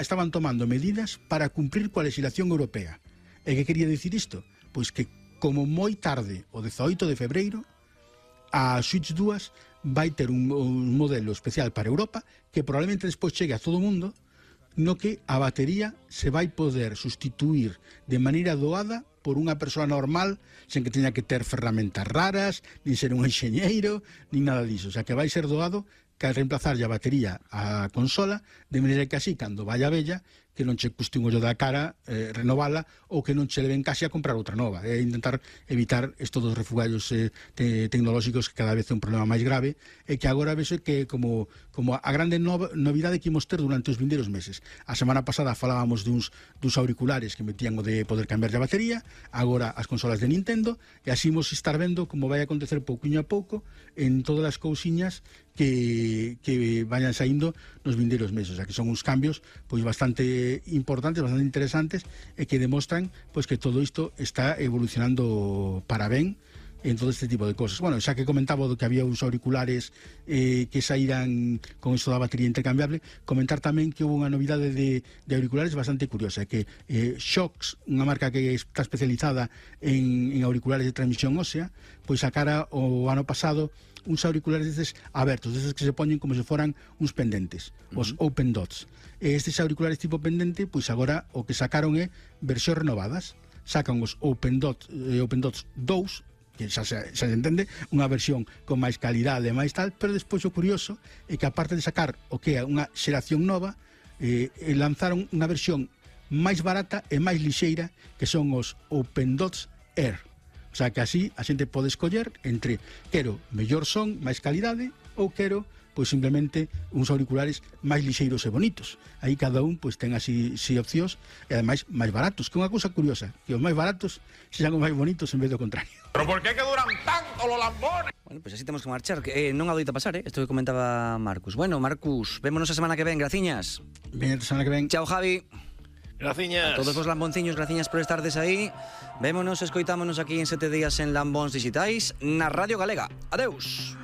estaban tomando medidas para cumprir coa legislación europea. E que quería dicir isto? Pois que como moi tarde, o 18 de febreiro, a Switch 2 vai ter un modelo especial para Europa que probablemente despois chegue a todo o mundo, no que a batería se vai poder sustituir de maneira doada por unha persoa normal, sen que teña que ter ferramentas raras, nin ser un enxeñeiro, nin nada diso. O sea, que vai ser doado que reemplazarlle a batería á consola, de maneira que así, cando vai a vella, que non che custe un ollo da cara renovala, ou que non che leven case a comprar outra nova. É intentar evitar estes dos refugallos tecnolóxicos que cada vez é un problema máis grave, e que agora vese que como a grande novidade que imos ter durante os vindeiros meses. A semana pasada falábamos duns auriculares que metían o de poder cambiar a batería, agora as consolas de Nintendo, e así imos estar vendo como vai acontecer pouquiño a pouco en todas as cousiñas que vayan saindo nos vindeiros meses. O sea, que son uns cambios pois bastante importantes, bastante interesantes, e que demostran pois que todo isto está evolucionando para ben en todo este tipo de cosas. Bueno, xa que comentaba que había uns auriculares que saíran con isto da batería intercambiable, comentar tamén que houve unha novidade de auriculares bastante curiosa, que Shox, unha marca que está especializada en auriculares de transmisión ósea, pois sacara o ano pasado uns auriculares destes abertos, destes que se poñen como se foran uns pendentes, os Open Dots. Estes auriculares tipo pendente, pois agora o que sacaron é versións renovadas. Sacan os Open Dots 2, que xa se entende, unha versión con máis calidade e máis tal, pero despois o curioso é que aparte de sacar o que é unha xeración nova, lanzaron unha versión máis barata e máis lixeira, que son os Open Dots Air. O sea, que así a xente pode escoller entre quero mellor son, máis calidade, ou quero pois simplemente uns auriculares máis lixeiros e bonitos. Aí cada un pois ten así opcións, e ademais máis baratos, que é unha cousa curiosa, que os máis baratos sexan os máis bonitos en vez do contrario. Pero por que duran tanto los lambones? Bueno, pois así temos que marchar, non adoita pasar, isto que comentaba Marcus. Bueno, Marcus, vémonos a semana que ven, graciñas. Ben, a semana que ven. Chao, Javi. Graciñas. A todos os lambonciños, graciñas por estardes aí. Vémonos, escoitámonos aquí en 7 días en Lambóns Digitais na Radio Galega. Adeus.